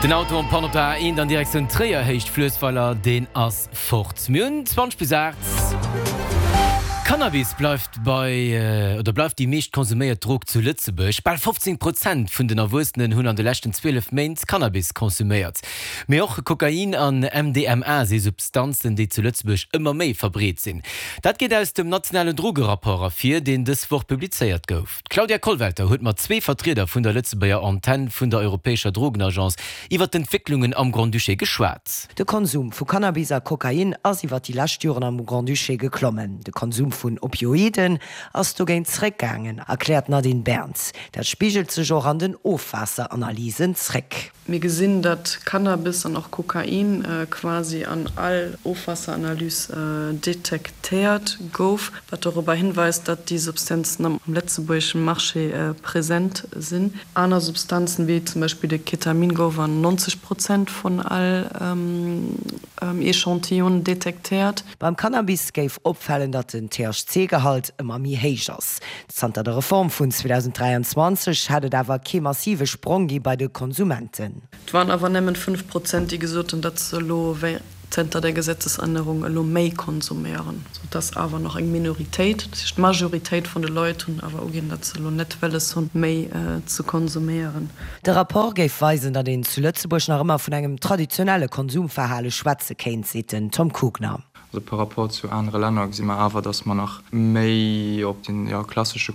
Den Auto en panne op der A1 an Direktioun Tréier, Héicht Fluessweiler, deen ass fort. Mir hunn 20 bis 8. Cannabis bleift bei, oder bleift déi meescht konsuméiert Drog zu Lëtzebuerg. Bal 15 Prozent vun den Erwuessenen hunn an de leschten 12 Méint Cannabis konsuméiert. Mee och Kokain an MDMA si Substanzen, déi zu Lëtzebuerg ëmmer méi verbreet sinn. Dat geet aus dem nationalen Drogerapport ervir, deen dës Woch publizéiert gouf. D'Claudia Kollwelter huet mat zwee Vertrieder vun der Lëtzebuerger Antenn vun der Europäescher Drogenagence iwwer d'Entwécklungen am Grand-Duché geschwat. De Konsum vu Cannabis a Kokain ass iwwer déi lescht Joren am Grand-Duché geklommen. De Konsum vun Opioiden ass dogéint zréckgaangen, erkläert d'Nadine Berns. Dat spigelt sech och an den Ofwaasseranalysen zréck. Mir gesinn, datt Cannabis an och Kokain quasi an all Ofwaasseranalys detektéiert gouf, wat dorobber hinweist, datt déi Substanzen am lëtzebuergesche Marché present sinn. Aner Substanzen, wéi zum Beispill de Ketamin, gouf an 90 Prozent vun all Echantillonen detektéiert. Beim Cannabis géif opfalen, datt den THC-Gehalt ëmmer méi héich ass. Zanter der Reform vun 2023 hätt et awer kee massive Sprong gi bei de Konsumenten. Et waren awer nëmmen 5 Prozent, déi gesot hunn, datt se elo zënter der Gesetzesännerung elo méi konsuméieren. Also et ass awer nach eng Minoritéit. Dat heescht, d'Majoritéit vun de Leit hunn awer uginn, datt se elo net wëlles hunn, méi ze konsuméieren. De Rapport géif weisen, datt een zu Lëtzebuerg nach ëmmer vun engem traditionelle Konsumverhale schwätze kéint, seet den Tom Kugner. Also par rapport zu anere Länner gesi mer awer, datt mer nach méi op den, jo, klassesche.